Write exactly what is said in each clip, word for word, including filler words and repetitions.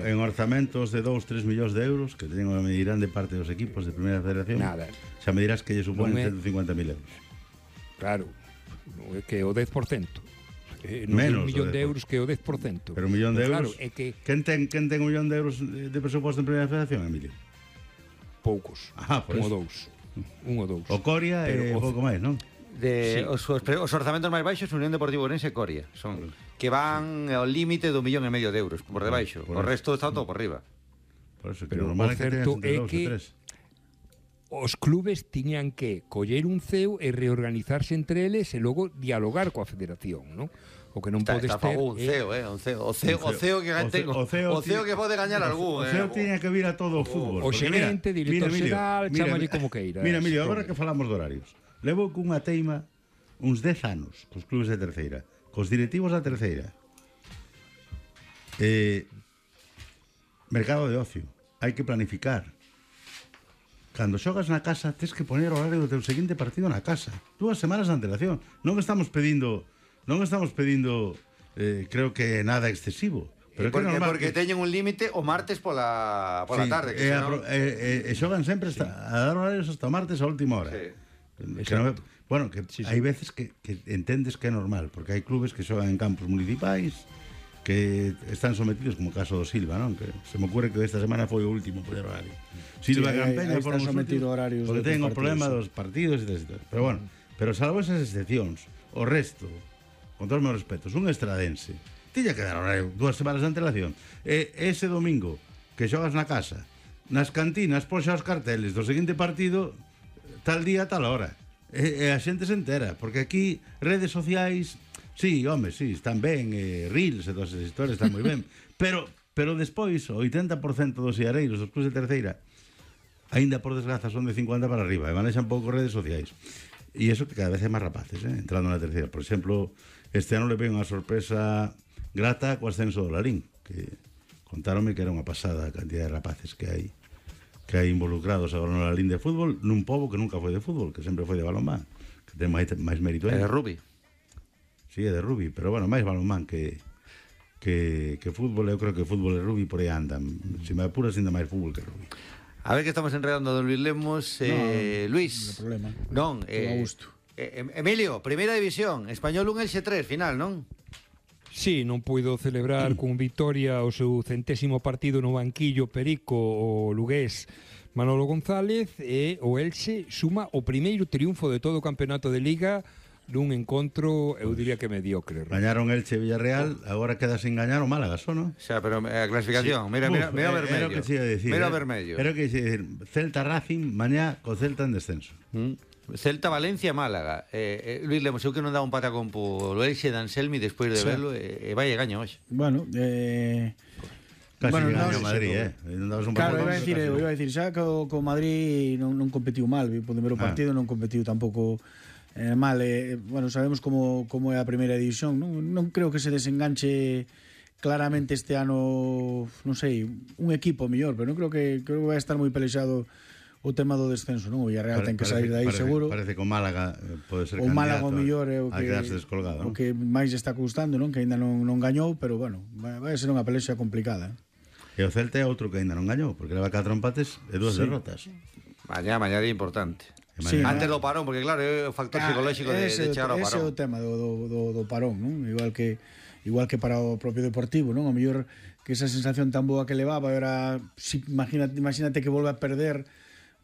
en orzamentos de dous, tres millóns de euros que teñen a medirán de parte dos equipos de Primeira Federación. Nada. Xa me dirás que lle suponen Non é- ciento cincuenta mil euros. Claro, é que o dez por cento. Eh, non Menos un millón do de dez por cento. euros que o dez por cento. Pero un millón de Claro, euros. é que Quen ten, quen ten un millón de euros de presuposto en Primeira Federación, Emilio? poucos. Ah, por un eso. ou dous. Un ou dous. O Coria e Pero o- pouco máis, non? De, Sí. os, os, pre- os orzamentos máis baixos Unión Deportiva Ourense e Coria son que van ao límite do millón e medio de euros por debaixo. Por O eso. resto está todo por riba. Por eso, que Pero normal o é que teñas certo entre é dous que e tres. os clubes tiñan que coller un ceo e reorganizarse entre eles e logo dialogar coa federación, non? O que non Está, podes está ter fago un é- ceo, eh, un ceo, o ceo, o O ceo que o ten, ceo- o ceo o ceo tiña- que pode gañar algún, O ceo eh. tiña que vir a todo o fútbol. o porque mira, xerente, director mira, Emilio, xeral, mira, chámalle mira, como queiras. Mira, Emilio, agora que falamos de horarios, levo cunha teima uns dez anos cos clubes de terceira, cos directivos da terceira. Eh, mercado de ocio, hai que planificar. Cando xogas na casa, tes que poner o horario do teu seguinte partido na casa. Dúas semanas de antelación. Non estamos pedindo, non estamos pedindo, eh, creo que nada excesivo. Pero Pero que é porque, normal porque que- teñen un límite o martes pola, pola Sí, tarde que e, senón- apro- e, e, e xogan sempre hasta, a dar horarios hasta o martes a última hora. Sí. Que non é- bueno, que Sí, sí. hai veces que, que entendes que é normal, porque hai clubes que xogan en campos municipais que están sometidos, como o caso do Silva, non? Que se me ocurre que esta semana foi o último por horario. Silva Sí, e Gran aí- Peña aí foron está os sometido últimos, a horarios porque de ten o outros problema partidos, dos partidos e tal. Pero bueno, pero salvo esas excepcións, o resto, con todos os meus respetos, un estradense tiña que dar horario dúas semanas de antelación. E ese domingo que xogas na casa, nas cantinas poxa os carteles do seguinte partido tal día, tal hora. E, e a xente se entera, porque aquí redes sociais, sí, home, sí, están ben, e reels e todas esas historias están moi ben, pero pero despois o oitenta por cento dos iareiros dos clubes de terceira aínda por desgraza son de cincuenta para arriba e manexan pouco redes sociais. E iso que cada vez hai máis rapaces, eh, entrando na terceira. Por exemplo, este ano le veo unha sorpresa grata co ascenso do Larín, que contáronme que era unha pasada a cantidad de rapaces que hai que hai involucrados agora no Larín de fútbol, nun pobo que nunca foi de fútbol, que sempre foi de balonmán, que ten máis, máis mérito É aí. de Rubi. Sí, é de rugby, pero bueno, máis balonmán que que, que fútbol. Eu creo que fútbol e rugby por aí andan. Se me apuras, ainda máis fútbol que rugby. A ver que estamos enredando a don Luis Lemos, eh, No, Luis. non hai problema. Non, Todo eh, a gusto. eh, Emilio, Primeira División, Español un Elxe tres, final, non? Sí, non puido celebrar con victoria o seu centésimo partido no banquillo Perico o lugués Manolo González, e o Elxe suma o primeiro triunfo de todo o campeonato de Liga nun encontro, eu diría que mediocre. Gañaron Elche e Villarreal, agora queda sin gañar o Málaga, só, non? Xa, pero a clasificación, mira, mira, Uf, mira o eh, vermello. Era o que se ia decir. Mira o eh. vermello. Era o que se ia decir. Celta Racing, mañá co Celta en descenso. Mm. Celta, Valencia, Málaga. Eh, eh, Luis Lemos, eu que non dá un patacón po Elxe de Anselmi despois de Sí. verlo, e eh, vai e gaña hoxe. Bueno, eh... Casi Bueno, bueno, no, gaño sí, Madrid, sí, eh. Non dabas un Claro, patacón, iba a decir, pero eu casi iba a decir, xa que o, co Madrid non, non competiu mal, o primeiro Ah. partido non competiu tampouco eh, mal, eh, bueno, sabemos como, como é a primeira división, non, non creo que se desenganche claramente este ano, non sei, un equipo mellor, pero non creo que creo que vai estar moi pelexado o tema do descenso, non? O Villarreal Pare- ten que parece- sair de aí parece, seguro. Parece que o Málaga eh, pode ser O Málaga o candidato mellor é o a que quedarse descolgado, o non? que máis está custando, non? Que aínda non, non gañou, pero bueno, vai, vai ser unha pelexa complicada. E o Celta é outro que ainda non gañou, porque leva catro empates e dúas Sí. derrotas. Mañá, mañá día importante. E Sí, mañá- Antes do parón, porque claro, é o factor psicolóxico de, ese, de chegar ao ese é o parón. tema do, do, do, do parón, non? Igual que igual que para o propio Deportivo, non? O mellor que esa sensación tan boa que levaba, era si, imagínate, imagínate que volve a perder,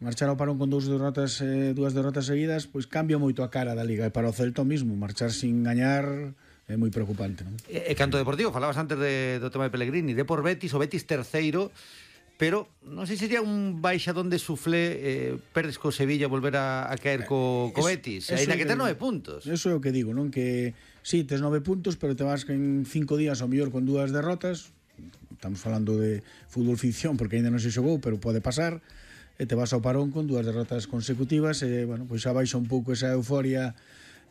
marchar ao parón con dous derrotas, eh, dúas derrotas seguidas, pois cambia moito a cara da Liga, e para o Celta mismo, marchar sin gañar é moi preocupante, non? E, e canto Deportivo, falabas antes de, do tema de Pellegrini, de por Betis, o Betis terceiro, pero non sei se sería un baixadón de suflé, eh, perdes co Sevilla volver a, a caer co, co Betis, Eso- ainda eso que é ten que- nove puntos. Eso é o que digo, non? Que sí, tes nove puntos, pero te vas en cinco días ao mellor con dúas derrotas. Estamos falando de fútbol ficción porque aínda non se xogou, pero pode pasar. E te vas ao parón con dúas derrotas consecutivas e, bueno, pois xa baixa un pouco esa euforia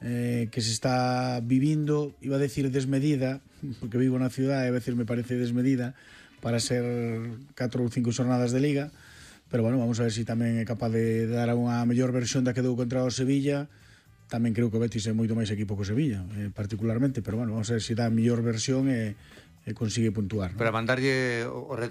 eh, que se está vivindo, iba a decir desmedida, porque vivo na ciudad e a veces me parece desmedida para ser catro ou cinco xornadas de Liga, pero bueno, vamos a ver se si tamén é capaz de dar unha mellor versión da que dou contra o Sevilla. Tamén creo que o Betis é moito máis equipo que o Sevilla, eh, particularmente, pero bueno, vamos a ver se si dá a mellor versión e, e consigue puntuar, ¿no? Pero a mandarlle o